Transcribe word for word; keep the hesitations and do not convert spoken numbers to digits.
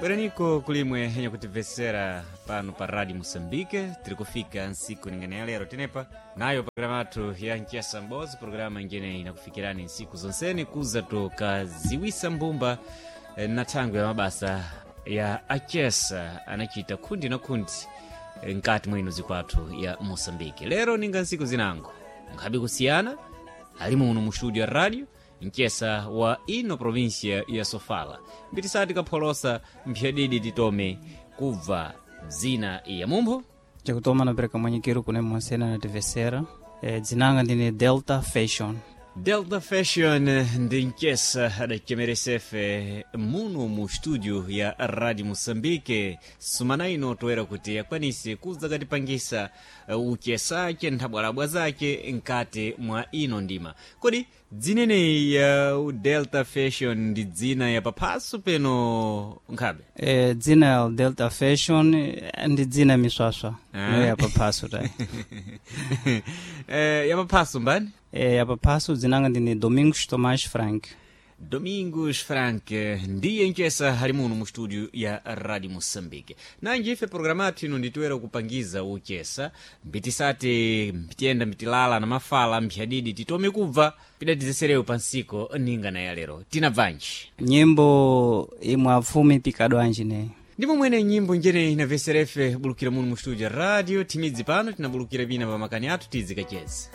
Bweraniko kulimwe henye kutimvesera pano pa Radio Moçambique. Tiri kufika nsiku ningane ya lero tenepa nayo programa yathu ya Nchesa Mbozi, programa ingene inakufikirani nsiku zonseni kuza tukaziwisa mbumba eh, na thangwe ya mabasa ya achesa anachita khundi na khundi eh, nkati mwa ino zikwathu ya Moçambique. Lero ninga nsiku zinango nkhabe kusiyana ali muno mu studio ya radio mchesa wa ino província ya Sofala, mbitisati kapholosa mphyadidi titome kubva dzina ya mumpho. Chakutoma napereka mwanyikiro kune mwasena nativesera. E, dzinanga ndine Delta Fashion. Delta Fashion ndi mchesa adachemeresefe muno mu studio ya Radio Moçambique sumana ino toera kuti akwanise kuza katipangisa eh, uchesache nthabwalabwa zake nkati mwa ino ndima. Kodi dzineneyi ya Delta Fashion ndi dzina ya paphaso peno nkhabe? E, dzina ya Delta Fashion eh, ndi dzina miswaswa. Ah. No ya paphaso tayi. Eh, ya paphaso mbani? E, ya paphaso dzinanga ndine Domingos Tomás Frank. Domingos Frank ndiye mchesa ali muno mu studio ya Radio Moçambique. Nanji ife programa yathu ino nditoera kupangiza uchesa mbitisati mbitiyenda mbitilala na mafala mphyadidi titome kubva pidatizeserewo pansiko ninga na ya lero tinabvanji. Nyimbo imwe afumi pikadwanji ne. Ndimo mwene nyimbo njene inaveserefe bulukira muno mu studio ya radio timidzi pano tinabulukira vina pa makani athu tizikacheza.